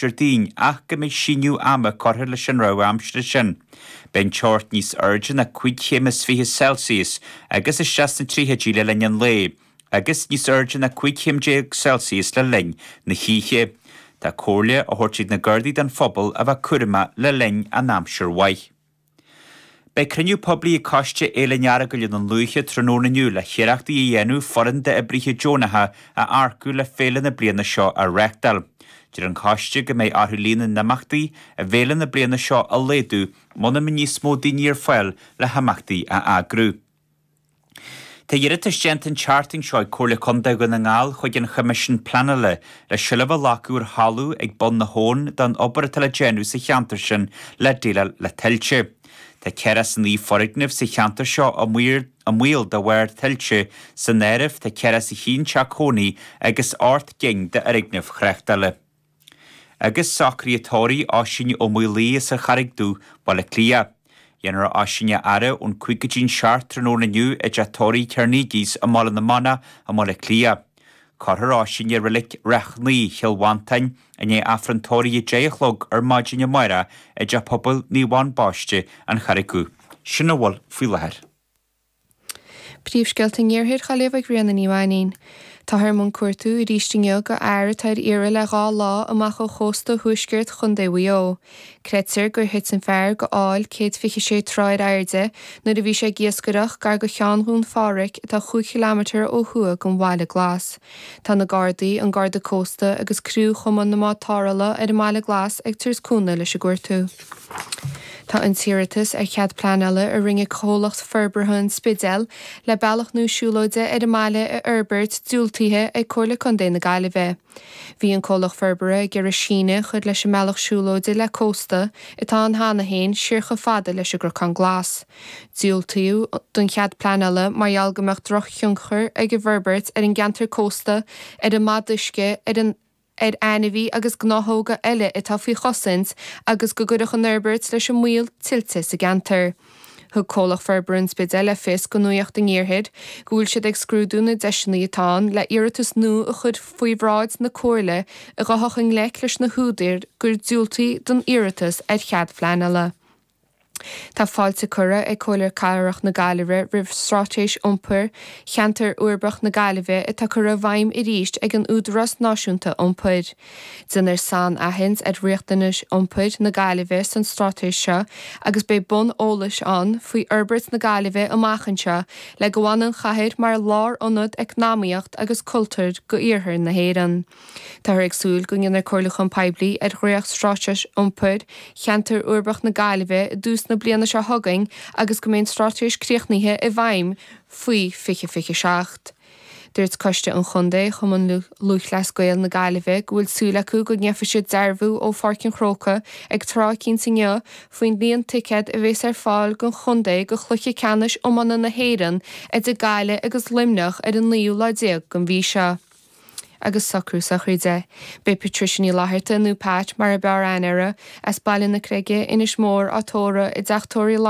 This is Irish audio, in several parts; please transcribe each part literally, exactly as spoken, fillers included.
Déardaoin ach go mbeidh síneadh ama curtha leis an rabhadh aimsire sin. Beidh an teocht níos airde ná cúig chéim is fiche Celsius agus isteach sna tríochaidí le linn an lae, agus níos airde ná cúig chéim déag Celsius le linn na hoíche. Tá comhairle á thabhairt ag na Gardaí don phobal a bheith cúramach le linn an aimsir mhaith. Beidh cruinniú poiblí ag Coiste Fhéile an Earagail i nDún Lúiche tráthnóna inniu le hiarrachtaí a dhéanamh foireann d'oibrithe deonacha a earcú le féile na bliana seo a reáchtáil. Deir an coiste go mbeidh orthu líon na n-imeachtaí i bhféile na bliana seo a laghdú muna mbeidh níos mó daoine ar fáil le himeachtaí a eagrú. Tá iarratas déanta an tseachtain seo ag Comhairle Contae Dhún na nGall chuig an Choimisiún Pleanála le seilbh a ghlacadh ar thalamh ag bun na habhann don obair atá le déanamh sa cheantar sin le déileáil le tuilte. Tá ceathracha is a naoi foirgneamh sa cheantar seo i mbaol de bharr tuilte, san áireamh tá ceathracha is a haon teach cónaí agus ocht gcinn d'fhoirgnimh thráchtála. Agus socruithe tórraimh Oisín Ó Maolaodha as an Charraig Dhubh, Baile Átha Cliath. Déanfar Oisín a fhaire ón cúig go dtí'n seacht tráthnóna inniu i dteach tórraimh Carnegie's i mBaile na Manach i mBaile Átha Cliath. Cuirfear Oisín i reilig Ráth Cnaí, Chill Mhantáin, i ndiaidh Aifreann tórraimh a deich a chlog ar maidin amárach i dteach pobail Naomh Eoin Baiste, An Charraig Dhubh. Sin a bhfuil faoi láthair. Príomhscéalta an Iarthair á léamh ag Ríona Ní Mhainín. Táthar i mbun cuartú arís inniu do fhear atá ar iarraidh le dhá lá amach ó chósta thuaisceart Chontae Mhaigh Eo. Creidtear gur thit an fear go aill céad fiche sé troigh ar airde nuair a bhí sé ag iascaireacht gar do Cheann Dhún Phádraig atá chúig chileámeter ó thuaidh den Bhaile Glas. Tá na Gardaí, an Garda Cósta agus criú Chumann na mBád Tarrthála ar an mBaile Glas ag tabhairt cúnamh leis an gcuartú. Tá an t-iarratas ar chead pleanála a rinne comhlacht forbartha an Spidéil le bealach nua siúlóide ar an mbaile a fhorbairt diúltaithe ag Comhairle Contae na Gaillimhe. Bhí an comhlacht forbartha ag iarraidh síneadh a chur leis an mbealach siúlóide le cósta atá ann cheana féin siar chomh fada leis an gCnocán Glas. Diúltaíodh don chead pleanála mar gheall go mbeadh drochthionchar ag an bhforbairt ar an gceantar cósta, ar an mbod uisce, ar an ar ainmhithe agus gnáthóga eile atá faoi chosaint agus go gcuirfeadh an fhorbairt leis an mbaol tuilte sa gceantar. Thug comhlacht forbartha an Spidéil le fios do Nuacht an Iarthair go bhfuil siad ag scrúdú na deiseanna atá ann le iarratas nua a chur faoi bhráid na Comhairle a ghabhfadh i ngleic leis na húdair gur diúltaíodh don iarratas ar chead pleanála. Tá fáilte curtha ag Comhairle Cathrach na Gaillimhe roimh Straitéis Iompair Cheantar Uirbeach na Gaillimhe atá curtha i bhfeidhm arís ag an Údarás Náisiúnta Iompair. Déanfar sainaithint ar riachtanais iompair na Gaillimhe san straitéis seo agus beidh bonn eolais ann faoi fhorbairt na Gaillimhe amach anseo le go bhfanann an chathair mar lárionad eacnamaíocht agus cultúir go iarthar na hÉireann. Táthar ag súil go ndéanfar comhairliúchán poiblí ar dhréacht-straitéis iompair Cheantar Uirbeach na Gaillimhe i dtús na bliana seo chugainn agus go mbeidh an straitéis críochnaithe i bhfeidhm faoi fiche fiche seacht. Dúirt Coiste an Chontae Chumann Lúthchleas Gael na Gaillimhe go bhfuil súil acu go ndéanfaidh siad dearbhú ó Pháirc an Chrócaigh ag tráth eicínt inniu faoin líon ticéad a bheas ar fáil don chontae do chluiche ceannais iomána na hÉireann idir Gaillimh agus Luimneach ar an naoú lá déag den mhí seo. Agus socrú sochraide. Beidh Patricia Ní Fhlatharta nó Pat mar ab fhearr aithne uirthi, as Baile na Creige, Inis Mór, á tórramh i dteach tórraimh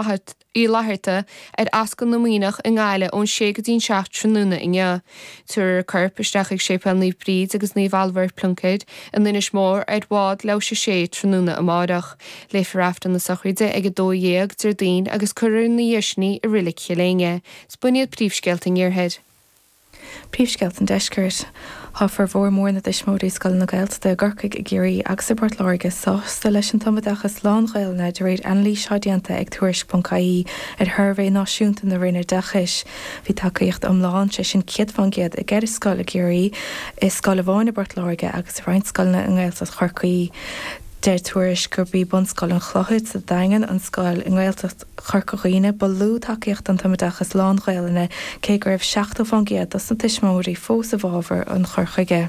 Uí Fhlatharta ar Ascaill na Muimhneach i nGaillimh ón sé go dtí'n seacht tráthnóna inniu. Tabharfar a corp isteach ag Séipéal Naomh Bríd agus Naomh Ailbhe Pluincéid in Inis Mór ar bhád leathuair théis a sé tráthnóna amárach. Léifear Aifreann na sochraide ag a dó dhéag Déardaoin agus cuirfear ina dhiaidh sin í i Reilig Chill Éinne. Is b'in iad príomhscéalta an Iarthair. Príomhscéalta an Deiscirt. Tá formhór mór na dtuismitheoirí scoileanna Gaeltachta i gCorcaigh, i gCiarraí agus i bPort Láirge sásta leis an tumoideachas lán-Ghaelainne de réir anailís atá déanta ag Tuairisc.ie ar shuirbhé náisiúnta na Roinne Oideachais. Bhí tacaíocht iomlán sé sin céad faoin gcéad i gceithre scoil i gCiarraí, i scoil amháin i bPort Láirge agus i roinnt scoileanna i nGaeltacht Chorcaí. Deir Tuairisc gurb í Bunscoil an Chlochair sa Daingean an scoil i nGaeltacht Chorca Dhuibhne ba lú tacaíocht don tumoideachas lán-Ghaelainne cé go raibh seachtó faoin gcéad dos na tuismitheoirí fós i bhfabhar an chur chuige.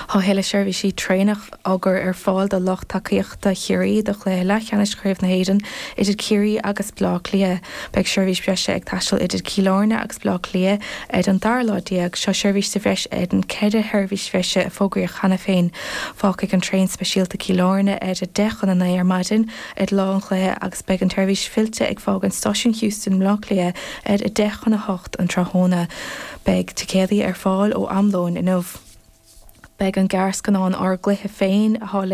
Tá tuilleadh seirbhísí traenach á gcur ar fáil do lucht tacaíochta Chiarraí do chluiche leathcheannais Chraobh na hÉireann idir Ciarraí agus Bleá Cliath. Beidh seirbhís bhreise ag taisteal idir Cill Airne agus Bleá Cliath ar an dara lá déag. Seo seirbhís sa bhreis ar an ceithre sheirbhís bhreise a fógraíodh cheana féin. Fágfaidh an traein speisialta Cill Airne ar a deich chun a naoi ar maidin ar lá an chluiche agus beidh an tseirbhís fillte ag fágaint Stáisiún Heuston i mBleá Cliath ar a deich chun a hocht an tráthnóna. Beidh ticéadaí ar fáil ó am lóin inniu. Beidh an gearrscannán Ár gCluiche Féin atá